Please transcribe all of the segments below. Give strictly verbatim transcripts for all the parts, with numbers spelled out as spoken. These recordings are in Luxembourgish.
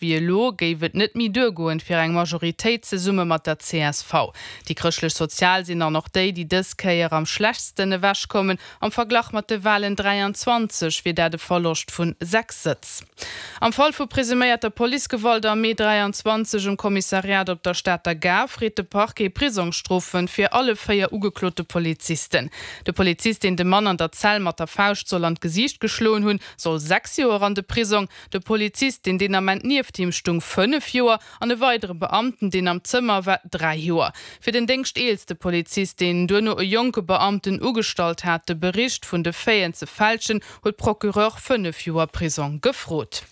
Wéi elo géif et net méi duergoen fir eng Majoritéit zesumme mat der C S V. Déi Chrëschtlech Sozial sinn dann och déi, déi dës Kéier am schlechtsten ewechkommen. Am Verglach mat de Walen dräianzwanzeg wier dat e Verloscht vun sechs Sëtz. Am Fall vu presuméierter Policegewalt am Mee dräianzwanzeg um Kommissariat op der Stater Gare freet de Parquet Prisongsstrofe fir alle véier ugeklote Polizisten. De Polizist, deen de Mann an der Zell mat der Fauscht soll an d'Gesiicht geschloen hunn, soll sechs Joer an de Prisong. De Polizist, deen deen Ament nieft him stung, fënnef Joer an e weidere Beamten, deen am Zëmmer war, dräi Joer. Fir den déngschteelste Polizist, deen duerno e jonke Beamten ugestallt hat, de Bericht vun de Faiten ze fälschen, huet Procureur fënnef Joer Prisong gefrot.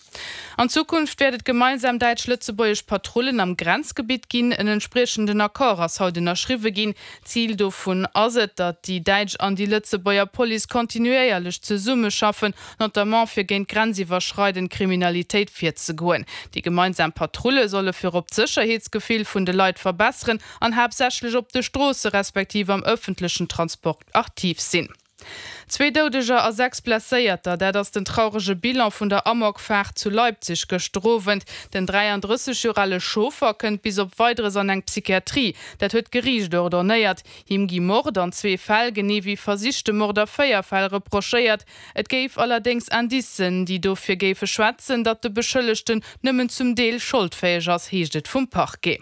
An Zukunft wäert et gemeinsam däitsch-lëtzebuergesch Patrullen am Grenzgebitt ginn. En entspriechenden Accord ass haut ënnerschriwwe ginn. Zil dovun ass et, datt déi däitsch an déi Lëtzebuerger Police kontinuéierlech zesummeschaffen, notamment fir géint grenziwwerschreidend Kriminalitéit virzegoen. Déi gemeinsam Patrulle solle virop d'Sécherheetsgefill vun de Leit verbesseren an haaptsächlech op de Stroosse respektiv am ëffentlechen Transport aktiv sinn. Zwee Doudeger a sechs Blesséierter, dat ass den traurege Bilan vun der Amokfaart zu Leipzig gëschter Owend. Den dräiandrësseg Joer ale Chauffer kënnt bis op Weideres an eng Psychiatrie. Dat huet d'Geriicht ordonéiert. Him gi Mord an zwee Fäll, genee wéi versichte Mord a véier Fäll reprochéiert. Et géif allerdéngs Indicen, déi dofir géife schwätzen, datt de Beschëllegten nëmmen zum Deel scholdfäeg ass, heescht et vum Parquet.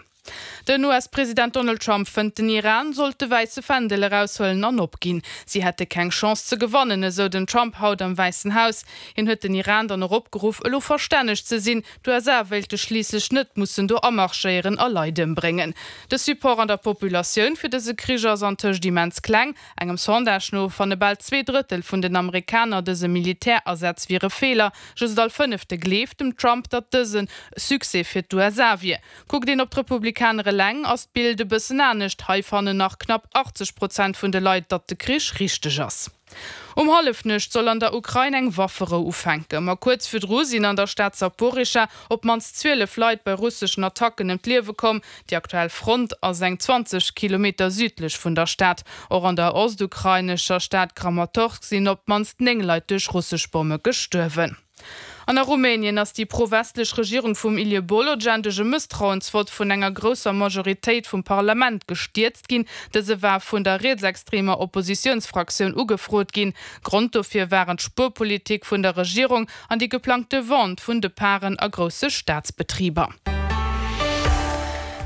Den U S-President Donald Trump fënnt, den Iran sollt de wäisse Fändel eraushuelen an opginn. Si hätte keng Chance ze gewannen, esou den Trump haut am Wäissen Haus. Hien huet den Iran dann och opgeruff, elo verstänneg ze sinn. D'U S A wéilte schliisslech net mussen do amarschéieren a Leit ëmbréngen. De Support an der Populatioun fir dëse Krich ass antëscht immens kleng. Engem Sondage no fanne bal zwee Drëttel vun den Amerikaner, dëse Militärasaz wier e Feeler. Just all Fënnefte gleeft dem Trump, datt dësen e Succès fir d'U S A wier. Kuckt een op d'Republikaner eleng, ass d'Bild e bëssen anescht. Hei fannen nach knapp achtzeg Prozent vun de Leit, datt de Krich richteg ass. Um Hallefnuecht soll an der Ukrain eng Wafferou ufänken. Ma kuerz virdru sinn an der Stad Saporischschja op d'mannst zwielef Leit bei russeschen Attacken ëm d'Liewe komm. Déi aktuell Front ass eng zwanzeg Kilometer südlech vun der Stad. Och an der ostukrainescher Stad Kramatorsk sinn op d'mannst néng Leit duerch russesch Bomme gestuerwen. An a Rumänien ass déi pro-westlech Regierung vum Ilie Bolojan duerch e Mësstrauensvott vun enger grousser Majoritéit vum Parlament gestierzt ginn. Dëse war vun der rietsextremer Oppositiounsfraktioun ugefrot ginn. Grond dofir waren d'Spuerpolitik vun der Regierung an déi geplangte Vente vun de Paren a grousse Staatsbetriber.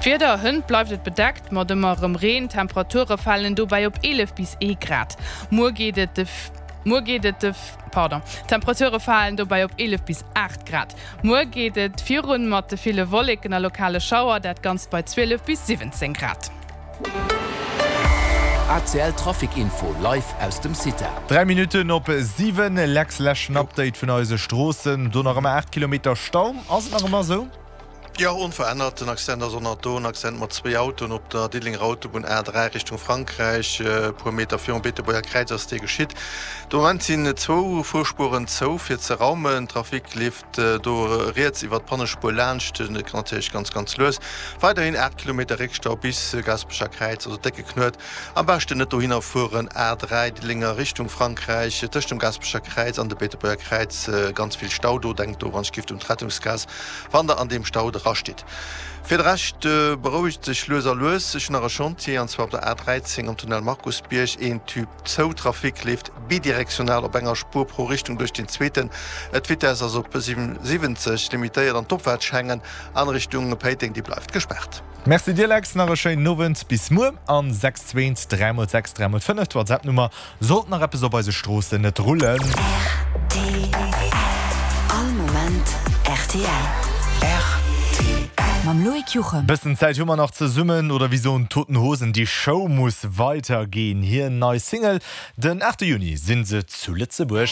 D'Wieder, Hënt bleift et bedeckt mat ëmmer erëm Reen, d'Temperature falen dobäi op eelef bis ee Grad. Muer geet et de Muer geet et de Pardon, d'Temperature falen dobäi op eelef bis aacht Grad. Muer geet et virun mat de ville Wolleken a lokale Schauer, dat Ganzt bei zwielef bis siwwenzéng Grad. A C L Trafic Info live aus dem CITA. Dräi Minutten op siwen, Lex, leschten Update vun eise Stroossen. Do nach ëmmer aacht Kilometer Stau. Ass et nach ëmmer esou? Jo, onverännert. Den Accident ass och nach do. En Accident mat zwéi Autoen op der Diddelenger Autobunn A dräi Richtung Frankräich. E puer Meter virum Beetebuerger Kräiz ass dee geschitt. De Moment sinn zwou Fuerspueren zou fir ze raumen. Trafic leeft do riets iwwer d'Pannespuer laanscht. Et kann natierlech ganz, ganz lues. Weiderhin aacht Kilometer Réckstau bis Gaasperecher Kräiz, also décke Knuet. Am beschten net dohinner fueren. A dräi Diddelenger Richtung Frankräich tëscht dem Gaasperecher Kräiz an de Beetebuerger Kräiz ganz vill Stau do. Denkt do wann ech giff un d'Rettungsgaass, wann der an deem Stau drastitt. Fir de Rescht berouegt sech lues a lues. Ech hunn nach e Chantier, an zwar op der A dräizéng am Tunnel Markusbierg. Een Tube zou, Trafic leeft bidirektional op enger Spuer pro Richtung duerch den zweeten. D'Vitess ass op siwwenzeg limitéiert an d'Opfaart Schengen an Richtung Péiteng, déi bleift gespaart. Merci dir Lex, nach e schéinen Owend, bis muer an sechs zwee dräi mol sechs dräi mol fënnef, d'WhatsApp Nummer, sollt nach eppes op eise Stroossen net rullen. R T L All Moment R T L. R T L. Mam Loïc Juchem. Bëssen Zäit hu mer nach zesummen, oder wéi soen d'Toten Hosen, die Show muss weitergehen. Hir nei Single, den aachte Juni sinn se zu Lëtzebuerg.